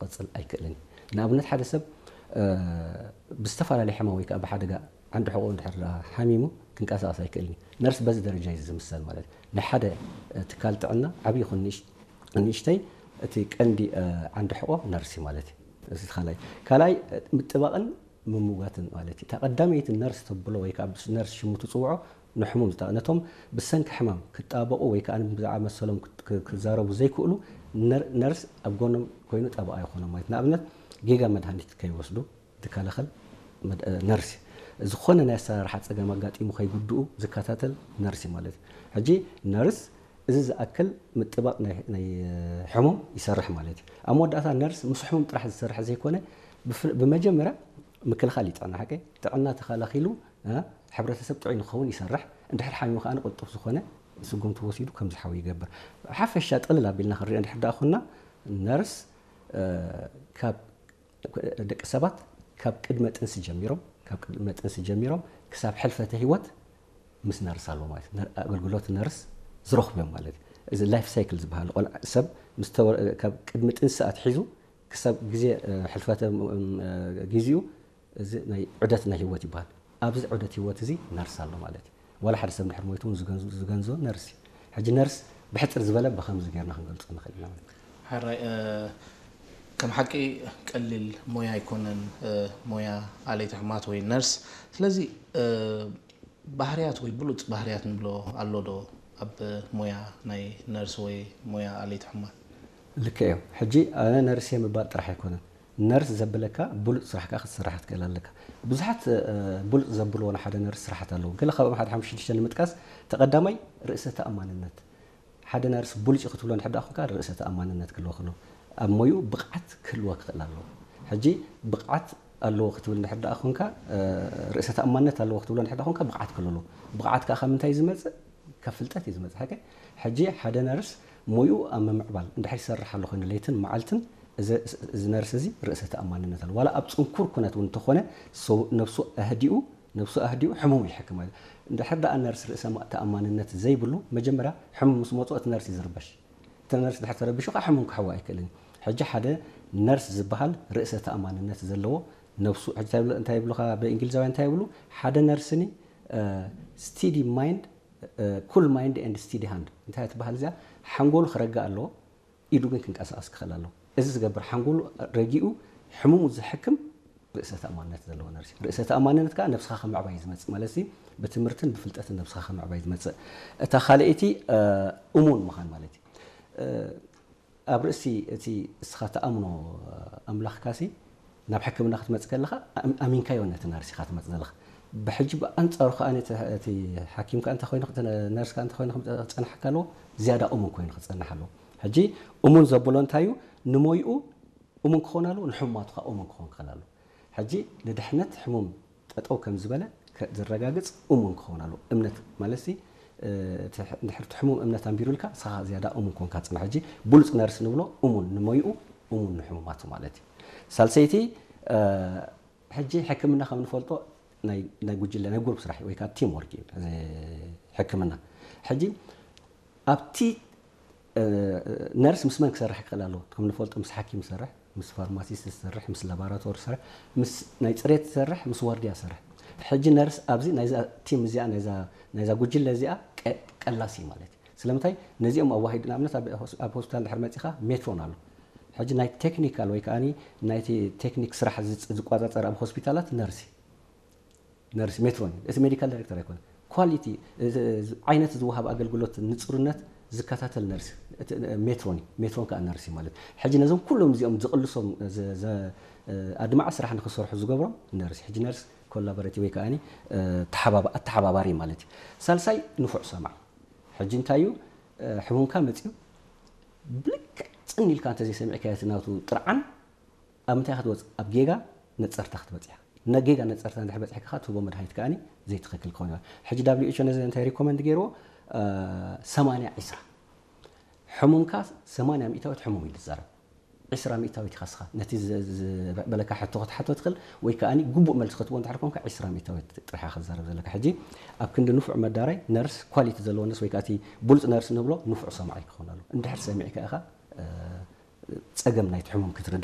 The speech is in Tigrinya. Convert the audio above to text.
ክቕጽል ኣይክእልን እዩ። ንኣብነት ሓደ ሰብ ብዝተፈላለየ ሕማም ወይ ከዓ ብሓደጋ ዓንዲ ሕቖ እንድሕር ሓሚሙ ክንቀሳቐስ ኣይክእልን እዩ። ነርስ በዚ ደረጃ እዩ ዝምሰል ማለት እዩ። ንሓደ ትካል ጥዕና ዓብዪ ይኹን ንእሽተይ እቲ ቀንዲ ዓንዲ ሕቖ ነርሲ ማለት እዩ። እዚ ካልኣይ ካልኣይ ምጥባቕን ምምጓትን ማለት እዩ። እታ ቀዳመይቲ ነርስ ተብሎ ወይ ከዓ ነርስ ሽሙ ትፅውዖ ንሕሙም ዝጠ ነቶም ብሰንኪ ሕማም ክጣበቑ ወይ ከዓ ብዛዕባ መሰሎም ክዛረቡ ዘይክእሉ ነርስ ኣብ ጎኖም ኮይኑ ጠበቓ ይኾኖም ማለት ንኣብነት ጌጋ መድሃኒት ከይወስዱ ዝከላኸል ነርሲ ዝኾነ ናይ ኣሰራርሓ ፀገም ኣጋጢሙ ከይጉድኡ ዝከታተል ነርሲ ማለት እዩ። ሕጂ ነርስ እዚ ዝኣክል ምጥባቕ ናይ ሕሙም ይሰርሕ ማለት እዩ። ኣብ መወዳእታ ነርስ ምስ ሕሙም ጥራሕ ዝሰርሕ ዘይኮነ ብመጀመርያ ምክልኻል እዩ ጥዕና ሓቀይ ጥዕና ተኸላኺሉ ሕብረተሰብ ጥዑይ ንክኸውን ይሰርሕ። እንድሕር ሓሚሙ ከዓ ቅልጡፍ ዝኾነ ስጉምቲ ወሲዱ ከም ዝሓዊ ይገብር። ሓፈሻ ጥቕልል ኣቢልና ክንሪኦ እንድሕር ደኣ ኮና ነርስ ካብ ደቂ ሰባት ካብ ቅድመ ጥንሲ ጀሚሮም ካብ ቅድመ ጥንሲ ጀሚሮም ክሳብ ሕልፈተ ህይወት ምስ ነርስ ኣሎ ማለት ኣገልግሎት ነርስ ዝረኽቡ እዮም ማለት እዩ። እዚ ላይፍ ሳይክል ዝበሃል ቆልዓ ሰብ ካብ ቅድሚ ጥንሲ ኣትሒዙ ክሳብ ግዜ ሕልፈተ ግዚኡ እዚ ናይ ዑደት ናይ ህይወት ይበሃል። ኣብዚ ዑደት ህይወት እዚ ነርስ ኣሎ ማለት እዩ። ዋላ ሓደ ሰብ ድሕር ሞይቱ እውን ዝገንዞ ነርስ እዩ። ሕጂ ነርስ ብሕፅር ዝበለ ብከምዚ ጌርና ክንገልፆ ንኽእል ኢና ማለት እዩ። ሕራይ ከም ሓቂ ቀሊል ሞያ ኣይኮነን ሞያ ኣለይቲ ሕማት ወይ ነርስ። ስለዚ ባህርያት ወይ ብሉፅ ባህርያት ንብሎ ኣሎ ዶ ኣብ ሞያ ናይ ነርስ ወይ ሞያ ኣለይቲ ሕማት? ልክዕ እዩ። ሕጂ ኣነ ነርስ እየ ምባል ጥራሕ ኣይኮነን። ነርስ ዘብለካ ብሉፅ ስራሕ ከዓ ክትሰርሕ ክትክእል ኣለካ። ብዙሓት ብሉፅ ዘብልዎ ንሓደ ነርስ ስራሓት ኣለዉ። ገለ ካብኦም ሓደ ሓሙሽተ ሽዱሽተ ንምጥቃስ፣ እቲ ቀዳማይ ርእሰ ተኣማንነት። ሓደ ነርስ ብሉፅ እዩ ክትብሎ እንድሕር ደኣ ኮንካ ርእሰ ተኣማንነት ክህልዎ ክሎ ኣብ ሞይኡ ብቕዓት ክህልዎ ክኽእል ኣለዎ። ሕጂ ብቕዓት ኣለዎ ክትብል እንድሕር ደኣ ኮንካ ርእሰ ተኣማንነት ኣለዎ ክትብሎ እንድሕር ደኣ ኮንካ ብቕዓት ክህልዎ ኣለዎ። ብቕዓት ከዓ ካብ ምንታይ ዝመፅእ? ካብ ፍልጠት እዩ ዝመፅእ። ሓቂ ሕጂ ሓደ ነርስ ሞይኡ ኣብ ምምዕባል እንድሕር ይሰርሕ ኣሎ ኮይኑ ለይትን መዓልትን እዚ ነርስ እዚ ርእሰ ተኣማንነት ኣሎ ዋላ ኣብ ፅንኩር ኩነት እውን እንተኾነ ነብሱ ኣህዲኡ ነብሱ ኣህዲኡ ሕሙም ይሕክም ማለት እንድሕር ደኣ ነርስ ርእሰ ተኣማንነት ዘይብሉ መጀመርያ ሕሙም ምስ መፅኦ እቲ ነርስ እዩ ዝርበሽ። እቲ ነርስ ድሕር ተረቢሹ ከዓ ሕሙም ክሕዋ ኣይክእልን። ሕጂ ሓደ ነርስ ዝበሃል ርእሰ ተኣማንነት ዘለዎ ነብሱ እንታይ ይብሉካ ብእንግሊዛውያን እንታይ ይብሉ ሓደ ነርስኒ steady mind cool mind and steady hand እንታይ ትበሃል እዚኣ ሓንጎሉ ክረግእ ኣለዎ ኢዱ ግን ክንቀሳቀስ ክኽእል ኣለዎ። እዚ ዝገብር ሓንጎሉ ረጊኡ ሕሙሙ ዝሕክም ርእሰ ተኣማንነት ዘለዎ ነርሲ ርእሰ ተኣማንነት ከዓ ነብስኻ ከምዕባይ ዝመፅእ ማለት ብትምህርትን ብፍልጠትን ነብስኻ ከምዕባይ ዝመፅእ እታ ካልአይቲ እሙን ምዃን ማለት እዩ። ኣብ ርእሲ እቲ እስኻ ትኣምኖ ኣምላኽካሲ ናብ ሕክምና ክትመጽእ ከለኻ ኣሚንካዮ ነቲ ነርስ ኢኻ ትመጽእ ዘለኻ። ብሕጂ ብኣንጻሩ ከኣ እቲ ሓኪም ከኣ እንተ ኮይኑ ነርስ ከኣ እንተ ኮይኑ ክጸንሓካ ኣለዎ ዝያዳ እሙን ኮይኑ ክጸንሕ ኣለዎ። ሕጂ እሙን ዘብሎ እንታይ እዩ ንሞይኡ እሙን ክኾን ኣለዎ ንሕሙማቱ ከኣ እሙን ክኾን ክኽእል ኣለዎ። ሕጂ ንድሕነት ሕሙም ጠጠው ከም ዝበለ ዝረጋግፅ እሙን ክኸውን ኣለዎ። እምነት ማለት ሲ እንድሕር እቲ ሕሙም እምነት ኣንቢሩልካ ንስኻ ዝያዳ እሙን ኮንካ ፅናሕ። ሕጂ ብሉፅ ነርስ ንብሎ እሙን ንሞይኡ እሙን ንሕሙማቱ ማለት እዩ። ሳልሰይቲ ሕጂ ሕክምና ከም ንፈልጦ ናይ ጉጅለ ናይ ጉሩፕ ስራሕ ወይ ከዓ ቲም ወርክ እዩ ሕክምና። ሕጂ ኣብቲ ነርስ ምስ መን ክሰርሕ ክኽእል ኣለዎ? ከም ንፈልጦ ምስ ሓኪም ዝሰርሕ፣ ምስ ፋርማሲስት ዝሰርሕ፣ ምስ ላባራቶሪ ዝሰርሕ፣ ምስ ናይ ፅሬት ዝሰርሕ፣ ምስ ዋርድያ ዝሰርሕ። ሕጂ ነርስ ኣብዚ ናይዛ ቲም እዚኣ ናይዛ ጉጅለ እዚኣ ቀላሲ ማለት እዩ። ስለምንታይ ነዚኦም ኣዋሂዱ ንኣብነት ኣብ ሆስፒታል ድሕር መፂኻ ሜትሮን ኣሎ። ሕጂ ናይ ቴክኒካል ወይ ከዓ ናይቲ ቴክኒክ ስራሕ ዝቋፃፀር ኣብ ሆስፒታላት ነርሲ ነርስ ሜትሮን እቲ ሜዲካል ዳይሬክተር ኣይኮነ ኳሊቲ ዓይነት ዝወሃብ ኣገልግሎት ንፅሩነት ዝከታተል ነርስ ሜትሮን ሜትሮን ከዓ ነርሲ ማለት ሕጂ ነዞም ኩሎም እዚኦም ዝቕልሶም ኣድማዕ ስራሕ ንክሰርሑ ዝገብሮም ነርሲ ሕጂ ነርስ ኮላቦሬቲ ወይ ከዓ ኣተሓባባሪ ማለት እዩ። ሳልሳይ ንፉዕ ሰማዕ ሕጂ እንታይ እዩ ሕሙምካ መፅዩ ብልክዕ ፅን ኢልካ እንተዘይሰሚዕካ እቲ ናቱ ጥርዓን ኣብ ምንታይ ክትወፅእ ኣብ ጌጋ ነፀርታ ክትበፅሕ ነጌጋ ነፀርታ እንድሕር በፂሕካ ከዓ ትህቦ መድሃኒት ከዓ ዘይትኽክል ክኸውን ይኽእል። ሕጂ ዳብሊው ኤች ኦ ነዚ እንታይ ሪኮመንድ ገይርዎ ሰማንያ ዒስራ ሕሙምካ ሰማንያ ሚእታዊት ሕሙም ኢሉ ዝዛረብ ዒስራ ሚእታዊት ኢኻ ስኻ ነቲ ዝበለካ ሕቶ ክትሓቶ ትኽእል ወይ ከዓ ግቡእ መልሲ ክትቦ እንድሕር ኮንካ ዒስራ ሚእታዊት ጥራሕ ክትዛረብ ዘለካ። ሕጂ ኣብ ክንዲ ንፉዕ መዳራይ ነርስ ኳሊቲ ዘለዎ ነርስ ወይ ከዓ እቲ ብሉፅ ነርስ ንብሎ ንፉዕ ሰማዓይ ክኸውን ኣሎ እንድሕር ሰሚዕካ ኢኻ ፀገም ናይቲ ሕሙም ክትርዳእ